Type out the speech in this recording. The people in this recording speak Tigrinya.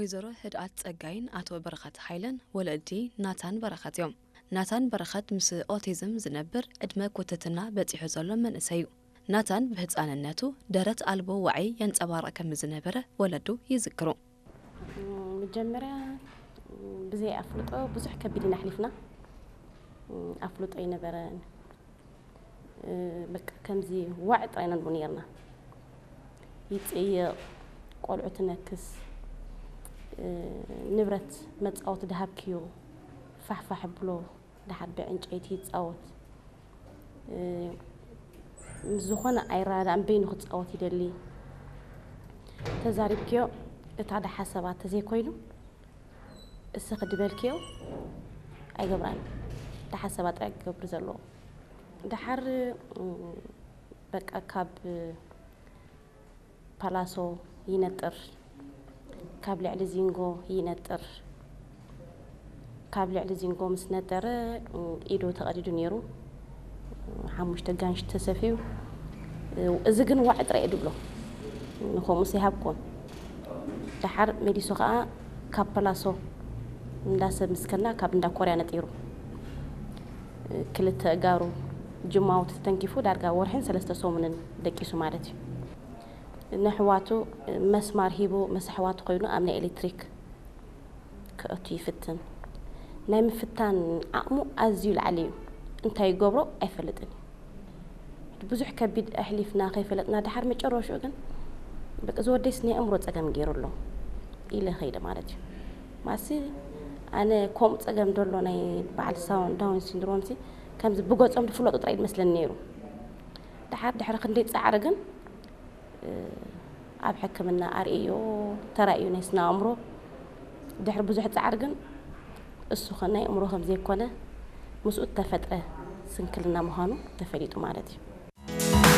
ወይዘሮ ህድኣት ጸጋይን ኣቶ በረኸት ሃይለን ወለዲ ናታን በረኸት እዮም። ናታን በረኸት ምስ ኦቲዝም ዝነብር ዕድመ ኩትትና በጺሑ ዘሎ መንእሰይ እዩ። ናታን ብህጻንነቱ ደረት ኣልቦ ዋዒ የንጸባርቕ ከም ዝነበረ ወለዱ ይዝክሩ። መጀመርያ ብዘይ ኣፍልጦ ብዙሕ ከቢድ ኢና ኣሕሊፍና። ኣፍልጦ ኣይነበረን። በቃ ከምዚ ዋዒ ጥራይ ኢና ንብሎ ነርና። ይጽይቕ፣ ቆልዑ ትነክስ፣ ንብረት መጻወቲ ድሃብክዮ ፋሕፋሕ ብሎ፣ ድሓር ብዕንጨይቲ ይጻወት። ምስ ዝኾነ ኣይረዳዳእን፣ በይኑ ክጻወት ይደሊ። ተዛሪብክዮ እታ ደሓሰባ ተዘይኮይኑ እስኺ ድበልክዮ ኣይገብራን። ደሓሰባ ጥራይ ክገብር ዘለዎ። ደሓር በቃ ካብ ፓላሶ ይነጥር፣ ካብ ልዕሊ ዚንጎ ይነጥር። ካብ ልዕሊ ዚንጎ ምስ ነጠረ ኢዱ ተቐዲዱ ነይሩ። ሓሙሽተ ጋንሽ ተሰፍዩ። እዚ ግን ዋዒ ጥራይ እዩ ድብሎ። ንኸምኡስ ኣይሃብኩዎን። ደሓር መሊሱ ኸኣ ካብ ፓላሶ እንዳ ሰብ ምስከና ካብ እንዳ ኮርያ ነጢሩ። ክልተ እጋሩ ጅማውቲ ተተንኪፉ ዳርጋ ወርሕን ሰለስተ ሰሙንን ደቂሱ ማለት እዩ። ንኣሕዋቱ መስማር ሂቡ ምስ ኣሕዋቱ ኮይኑ ኣብ ናይ ኤሌክትሪክ ክእቱ ይፍትን። ናይ ምፍታን ዓቕሙ ኣዝዩ ላዕሊ እዩ። እንታይ ይገብሮ ኣይፈልጥን እዩ። ብዙሕ ከቢድ ኣሕሊፍና ከይፈለጥና ደሓር መጨረሽኡ ግን በቃ እዚ ወደይስ ናይ ኣእምሮ ጸገም ገይሩ ኣሎ ኢለ ኸይደ ማለት እዩ። ማሲ ኣነ ከምኡ ጸገም ደሎ ናይ በዓል ሳውን ዳውን ሲንድሮም ሲ ከምዚ ብገጾም ዝፍለጡ ጥራይ መስለኒ ነይሩ። ደሓር ድሕሪ ክንደይ ጻዕሪ ግን ኣብ ሕክምና ኣርእዮ ተራእዩ ናይ ስነ ኣእምሮ ድሕሪ ብዙሕ ጻዕሪ ግን እሱ ኸ ናይ ኣእምሮ ከም ዘይኮነ ምስኡ እተፈጥረ ስንክልና ምዃኑ ተፈሊጡ ማለት እዩ።